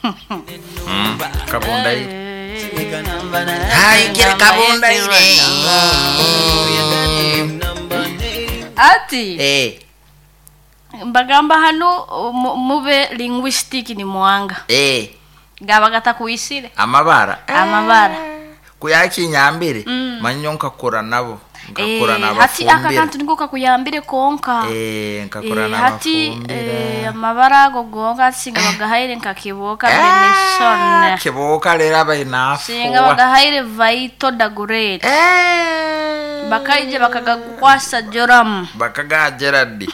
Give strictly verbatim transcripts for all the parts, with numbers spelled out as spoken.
Mm, kabundaire haikire kabundaire. Ati Eh, mbagamba hano mu- mube linguistic ni mwanga eh, gaba gatakuisire amabara amabara. Kuyakinyambire manyo nkakura nabo, nkakura Eh, hati aka nabafumbira. kantu niko kakuyambire konka. Eh, nkakura Eh, hati eh, nabafumbira. Amabara ago gonka singa bagahaire nkakiboka benison. Kiboka rero abainafuwa. Singa bagahaire vaito dagurete bakaije bakagakwasa joramu. Bakaga Gerard.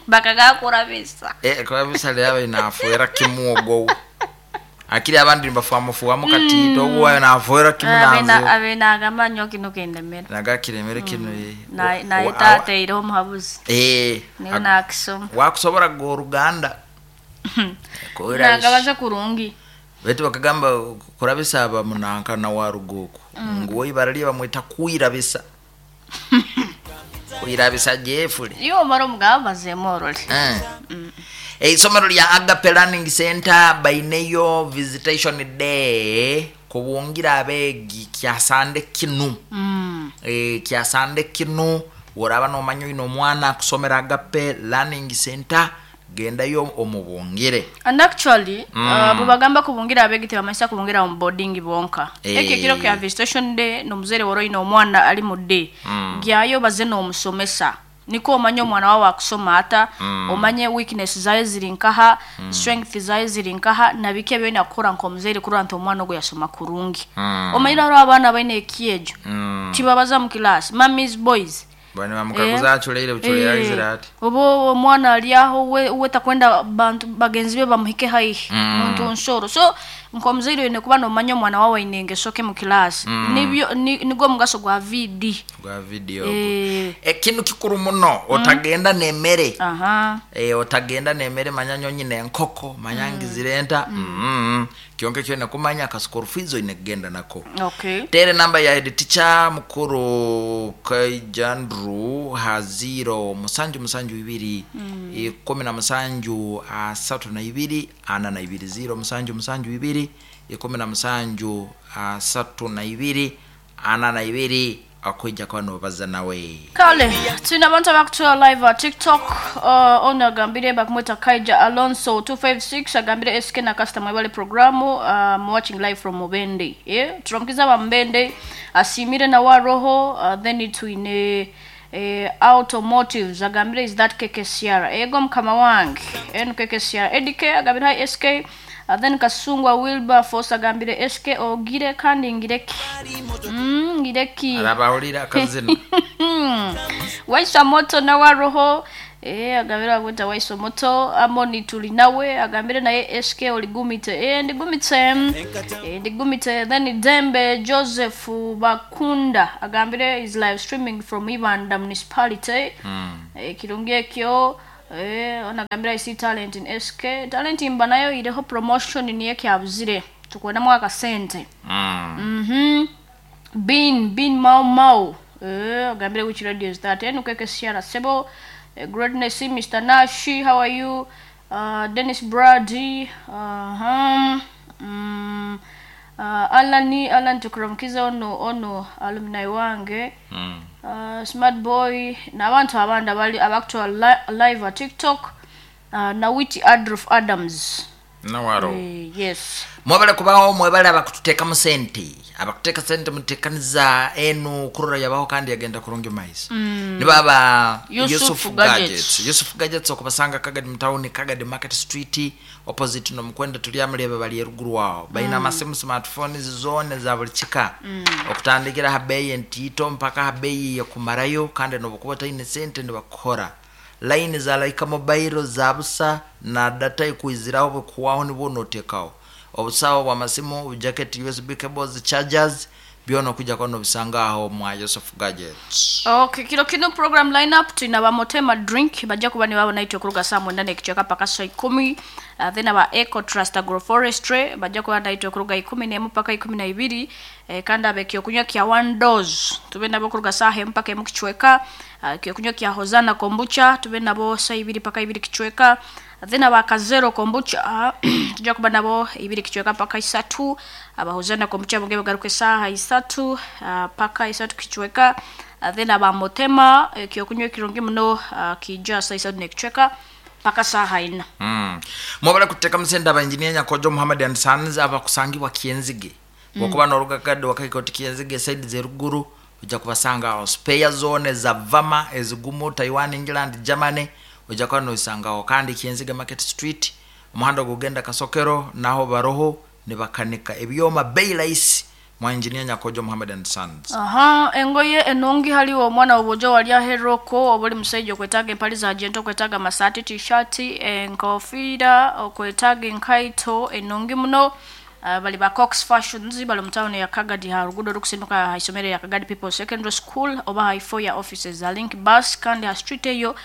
Bakagakurabisa. Eh, kurabisa rero abainafuera kimwogo akiri abandi nibafuamufuamu katito oguwayo nafuera kimunanzo. Abenagamba nyo kino kendemera. Nagakiremere kino eh. naye Wa- naye wa- tateireho omuhabuzi. Eh, Niwe ak- nakisoma. Wakusobora goruganda kurabisa. Nagabaza kurungi. Betu bakagamba kurabisa aba munanka na waruguku nguwo ibara lye bamwita kwirabisa, kwirabisa Jeffrey. Iyo omara omugaba bazeemu orole. Eh. Eisomero lya Agape Learning Center baineyo visitation day kubungira abeegi kyasande kinu. Mm. e, kyasande kinu woraba nomanya oyine omwana akusomera Agape Learning Center, gendayo omubungire. And actually mm. uh, bwebagamba kubungira abeegi tebamanyisa kubungira omu boarding bonka. Eh. Ekyo ekiro kya visitation day nomuzaire wora oyine omwana ali mu day, Mm. gyayo baze n'omusomesa niko omanye omwana wawe akusoma ata, Mm. omanye weakness zaye ziri nkaha, strength zaye ziri nkaha, nabiki ebyolina kukora nk'omuzaire kurora nti omwana ogwo yasoma kurungi. Mm. Omanyire hariho abaana baine ekyejo, Mm. tibabaza mu class mummies boys. Bani bamukaguza aculeire buculeire aizire ati. Oba omwana ali aho we, we takwenda bantu bagenzi be bamuhike haihi. Mm. Muntu nsoro, so nk'omuzaire oyine kuba nomanya omwana wawe aine engeso ke mu class. Mm. Nibyo ni, nigwo omugaso gwa V D. Gwa video. Eh. Ekintu kikuru muno, otagenda nemere. Aha. e, otagenda nemere, manya nyonyi nenkoko manya ngizirenta mm. Kyonke kyone kumanya ka school fees oyine kugenda nako. Okay. Tere namba ya head teacher mukuru Kaijandru ha zero musanju musanju ibiri mm. ikumi na musanju asatu na ibiri ana na ibiri, zero musanju musanju ibiri ikumi na musanju asatu na ibiri ana na ibiri, akwija kuba nobaza nawe. Kale tulina abantu abakutuwa live a TikTok. uh, ono agambire bakumweta Kaija Alonso two five six, agambire S K na customer wale programu, um, watching live from Mubende, yeah? Turamukiza ba Mubende, asimire na wa roho. uh, then twine eh, automotives, agambire is that K K C R ego mukama wange enu K K C R edk, agambire hi S K. uh, then Kasungwa Wilberforce agambire S K ogire kandi ngireki mm, ngireki. Arabahulira akazina. Waisa moto nawa roho eh agambire agweta Waisa moto amoni tuli nawe, agambire naye S K oligumite, eh ndigumite eh ndigumite. Then Dembe Joseph Bakunda agambire is live streaming from Ibanda municipality. mm. eh kirungi ekyo. eh onagambira I see talent in S K, talent imba nayo ireho promotion niye kyabuzire tukwenamu akasente. Mm. Mhm. Bin Bin Mau Mau. Eh, agambire which radio is that? Enu keke siara sebo. Eh, greatness Mister Nashi, how are you? Uh, Dennis Brady. Uh-huh. Mm. Uh, Alani Alan tukuramkiza ono ono alumni wange. Mm. Uh, Smart Boy n'abantu abandi abali abakutuwa li live at TikTok. Uh, Nawiti Adolf Adams. Nawaro. Eh, yes. Mwebale kubaho, mwebale abakututeekamu sente, abakuteeka sente muteekaniza enu kurora yabaho kandi yagenda kurungi maiso mm. Nibaba Yusuf Yusuf Gadgets. Gadgets. Yusuf Gadgets okubasanga Kagadi mutawuni, Kagadi Market Street opposite nomukwenda tulyamulebe bali eruguru wawo balina amasimu smartphones zone za buli kika mm. okutandikira ha beeyi entiito mpaka ha beeyi yekumarayo, kandi nobukuba otaine sente nibakukora line za Laika Mobile za busa na data ikuiziraho bwekuwaho nibwo notekaho obusawo bwamasimu, jacket, U S B cables, chargers, byona okujja kuba nobisanga aho mwa Yusuf Gadgets. Okay, kiro kino program lineup tulina ba Motema Drink bajja kuba nibabo naitwe okuruga saa mwenda n'ekicweka paka saa ikumi. uh, then aba Eco Trust Agroforestry bajja kuba naitwe okuruga ikumi n'emu paka ikumi na ibiri. eh, kandi abe ekyokunywa kya One Dose tube nabo okuruga saaha emu paka emu kicweka. uh, ekyokunywa kya Hosana Kombucha tube nabo saa ibiri paka ibiri kicweka. Then abakazero kombucha tujja kuba nabo ibiri kichweka paka isatu. Abahuzana kombucha bonge bagaruka esaha isatu uh, paka isatu kichweka. Uh, then abamotema eh, kyokunywa kirungi muno uh, kija saa isatu nekichweka paka saha ina. Mm. Mwabala kuteka musenda aba engineer Nyakojo Muhammad and Sons abakusangibwa Kienzige. Mm. Bwokuba n'olugakadde wakaikoti Kienzige side z'eruguru ojja kubasanga awo spare zone za Vama ezigumu Taiwan, England, Germany ojja kuba nozisangawo. Kandi Kienzige Market Street omuhanda gugenda Kasokero naho baroho nibakanika ebyoma bei rahisi mwa engineer Nyakojo Muhammad and Sons. Aha, engoye enungi haliwo omwana obujo wali aheroko obuli musajja okwetaaga empale za jento, okwetaaga amasaati, t-shirt, enkofiira, okwetaaga enkaito enungi muno. Uh, bali ba Cox Fashions bali mu town ya Kagadi ha rugudo rukusinduka ha isomero ya Kagadi People Secondary School oba ha ifo ya offices za Link Bus kandi ha street eyo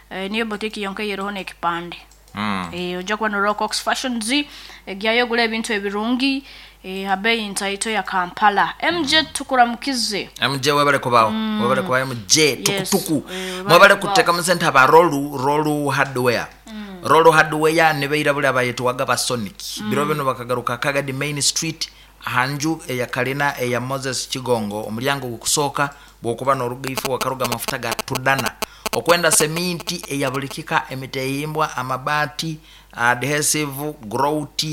eh, niyo boutique yonke yeroho n'ekipande. Mm. Eh, ojja kuba no Cox Fashions egyayo ogula ebintu ebirungi eh, habeyi ntaito ya Kampala. M J tukuramukize. M J webale kubawo. Mm. Webale kubawo M J tukutuku. Yes. Eh, mwebale kuteka musente aba Rolu Rolu Hardware. Mm. Rolu Hardware nibeira buli abayetwaga ba Sonic. Mm. Biro bino bakagaruka Kagadi Main Street hanju eya Kalina eya Moses Chigongo omulyango gukusooka bwokuba n'olugaifu wakaruga amafuta ga tudana okwenda seminti eyabulikika emitehimbwa amabaati adhesive grout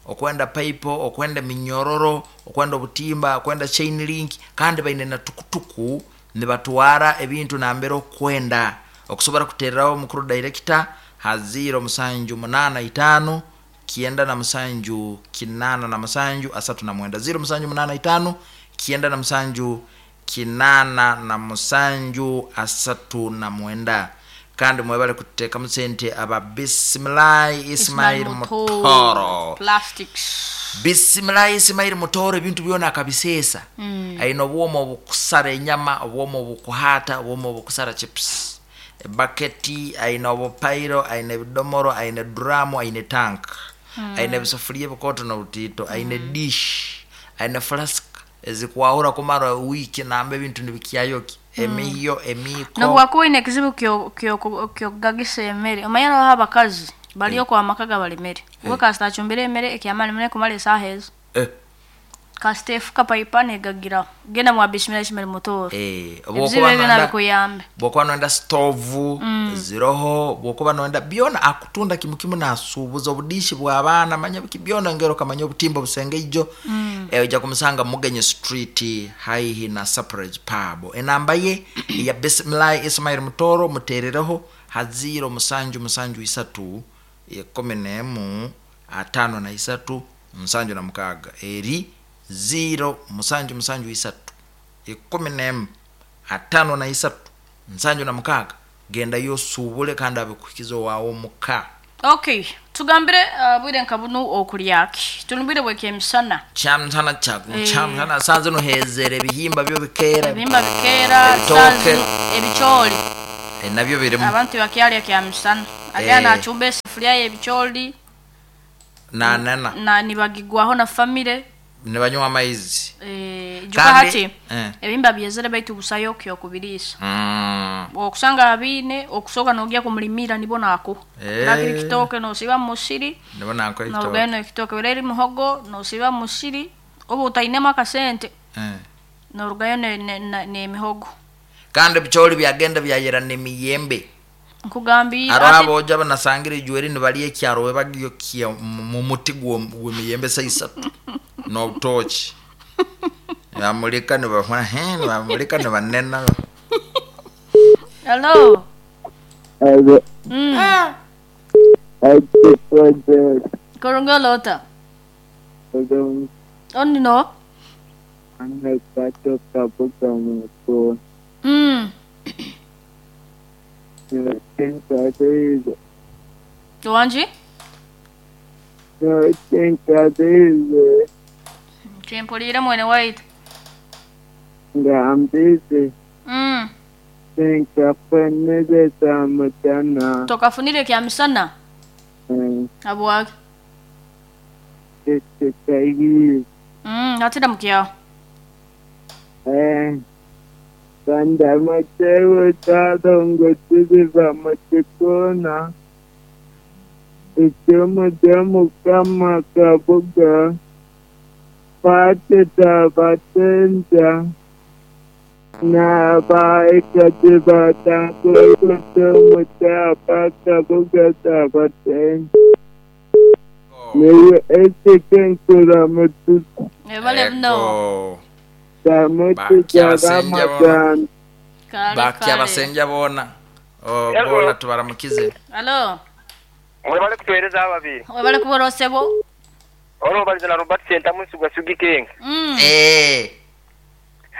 okwenda pipe okwenda minyororo okwenda obutimba okwenda chain link kandi baine na tukutuku nibatwara ebintu nambere okwenda okusobora kutereraho mukuru director ha zero musanju munana itano kienda na musanju kinana na musanju asatu na mwenda zero musanju munana itano kienda na musanju kinana na musanju asatu na mwenda. Kandi mwebale kuteka musente aba Bismillah Ismail Mutoro Plastics. Bismillah Ismail Mutoro ebintu byona akabisesa. Mm. Aina obwomo obukusara enyama, obwomo obukuhata, obwomo obukusara chips, baketi, aina obupairo, aina ebidomoro, aina dramu, aina tank. Mm. Aina ebisufuria ebikoto n'obutito, aina mm. dish, aina flask ezikwahura kumara wiki nambe ebintu nibikyayoki. Mm. Emiyo emiko nobwakuba ine ekizibu kyo kyo kyogagisa emere omanyana aho abakazi baliyo kwa makaga balemere eh. We kasita achumbire emere ekyamani mune kumala esaha ezo eh. Kasita efuka paipane egagira genda mwa Bismillah Ismail Mutoro eh bwokuba nonda kuyambe bwokuba nonda stovu mm. ziroho bwokuba nonda byona akutunda kimukimu nasubuza obudishi bw'abaana manya biki byona ngero kamanya obutimba busenge ijo mm. Eh, ojja kumusanga Mugenyi Street haihi na Surprise Pub. Enamba ye ya Bismillah Ismail Mutoro muterereho ha zero musanju musanju isatu ikumi n'emu atano na isatu musanju na mukaga eri zero musanju musanju isatu ikumi n'emu atano na isatu musanju na mukaga genda yosubule kandi abikukizo wawo muka. Okay, tugambire uh, bwire nkabunu okulyaki tulumbire bweke emisana kyamsana kyaku e... kyamsana sanze no hezere ebihimba byo bikera ebihimba bikera sanze ebicholi e, nabyo birimu abantu bakyalya kyamsana agana e... achumbe esufuria ebicholi na nana na nibagigwaho na famire nibanywa amaizi eh juka hati eh. Ebimba byezere baitu busayo kyo kubirisa mm. Okusanga abine okusoka nogya kumulimira nibona ako eh. Lakini kitoke no siba musiri nibona ako kitoke no geno kitoke bereri muhogo no siba musiri obo utainema akasente eh. No rugayo ne, ne, ne, ne mihogo kandi bicholi byagenda byayera ne miyembe nkugambi arabo oja banasangire ijweri nibaliye kyaro we bagiyokia mu muti gw'emiyembe saisatu no tochi yamulika ne bafuna he bamulika ne banena. Hello. Hello. Mm. Korongolota. Oni no. Mm. Wanji? Chimpulire mwene waitu. Ngambise. Mm. Nkafunire kya Tokafunire kya misana? Mm. Abwaki? Ekikayi. Mm, atida mukyawo. Eh. Bandamatewe tadongo tuziva mutikona. Ikimu ky'Omukama Kabuga, Pateta Batenja, n'abaikazi batangurukutumu kyapa Kabuga Tabatenja. Niwe ekikenkura mututu Webale muno. Ego. tamututa Bakyabasenja Ramadan. Kale Bakya kale. abasenja boona. Oh, Ego. boona tubaramukize. Alo. Mwebale kutuweereza ababiri. Webale kubora osebo. Olwo na Robert Sentamu Nsigwa Sugi King. Mm. Eh.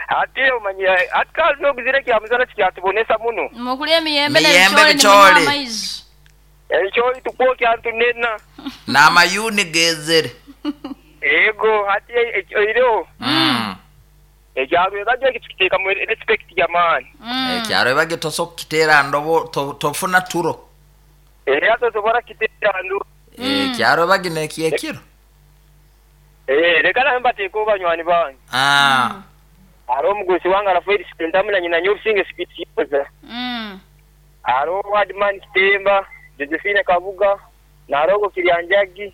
Ate omanyi ati kazi oguzire kya muzana kikyatubonesa muno. Mukulya emiyembe Miyembe n'ebicooli bicooli. nimunywa amaizi. Ekyo tukwokya ntunena. N'amayuni gezere. Ego ati oireho Mm. ekyalo ebajja kituteeka mu respect jamani. Mm. Ekyalo ebage tosobola kukiteera ndobo to- tofuna turo. Era tosobola kiteera ndu. Ekyalo ebage nekyekiro. Eh leka nawe mbateeka banywani bange. Ah. Aro omugusi wange Rafael Sentamu na nyina nyobusinge Spitz. Mm. Aro Wadman Kitemba, Josephine Kabuga, Narogo Kiryanjagi,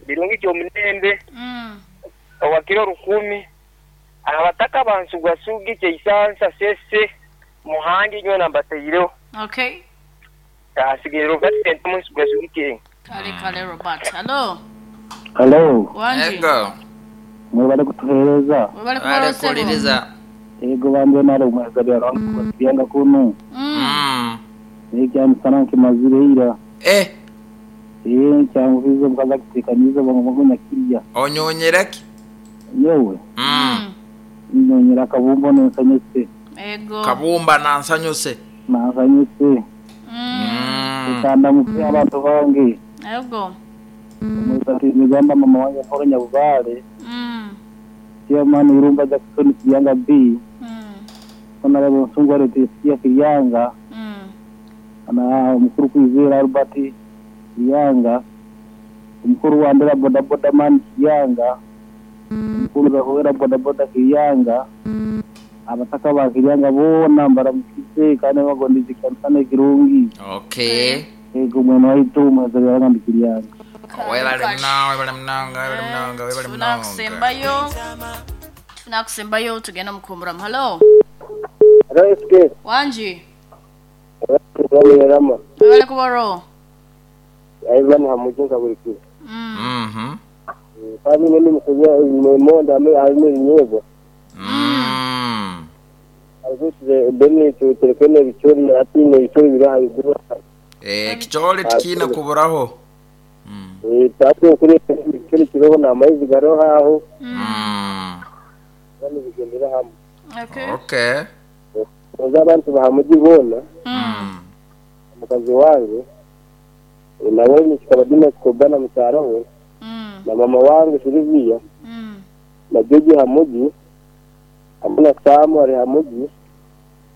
Birungi Kyomulembe, Mm. Owakiro Rukumi, abataka bansugasugi Kyeisansa Sese, Muhangi nyo nambateireho. Okay. Asigire Robert Sentamu Nsugwasugi King. Kale kale Robert. Alo. Hello, Wanji. Ego. mwebale kutuheereza. Webale kubora Bale osebo. kuliriza. Ego bambe nare omweza byarangu kuno. Mm. Mm. Ekyamusana nkimazire ira. Eh, Eh nkyanguhize mukaza kutekaniza bangu kirya. onyonyereki. Nyewe Mm. nyonyera akabumba nensanyuse. Ego. Kabumba nansanyuse. Nansanyuse. Mm. Mm. Kanda mupe abantu bange. Ego. Omweza migamba mama wange Paul Nyabubale. Mm. Chairman Irumba Jackson Kiryanga B. Mm. Honorable Nsungwa Leticia Kiryanga. Mm. Na omukuru Kwizera Albert Kiryanga. Omukuru Wandera bodaboda man Kiryanga. Omukuru Rahwera bodaboda Kiryanga. Abataka ba Kiryanga boona mbaramukize kandi bagondeze kyamusana ekirungi. Okay. Ego mwene waitu omweza byaranga ndi Kiryanga. Webale muno, webale munonga, webale munonga, webale Tufuna munonga. kusembayo. Tufuna kusembayo tugenda mukumburamu. Hello. Hello, S K. Wanji. Rama. Webale kuboro. Ivan Hamujinga buri kiro. Mm. Mhm. Kandi nini musubya monde ame ame nyebo. Mm. Arikuze bene tu telefone bichori ati ne bichori biraha bigura. Eh, kicholi tikina kuburaho. Mm. Eh tatu kuri bichori kiroho na amaizi garoho aho Mm. bane bigendera hamwe. Okay. Okay. Oza abantu bahamuji bona Mm. mukazi wange nawe nikikaba dina kikobana mukyaro we Mm. na mama wange Silvia Mm. na Joji Hamuji hamwe na Samu ari Hamuji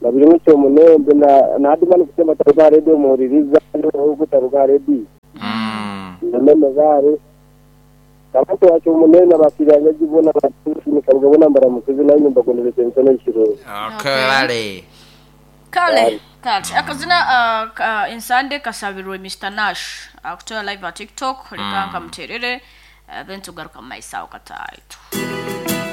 na biri mucyo munembe na na hadimani kusema taruka radio muhuririza no taruka radio Mm. na meme gare abantu wacu munene abakiriya gibona batushimika bona mbaramukize nayo nyumba gondereze msono ikiro Okay, bale. Kale. Kale. Akazina uh, ka, insande kasabirwe Mister Nash. Akutoa live at TikTok. Leka nkamuterere. Uh, then tugaruka mu maiso aho kataitu.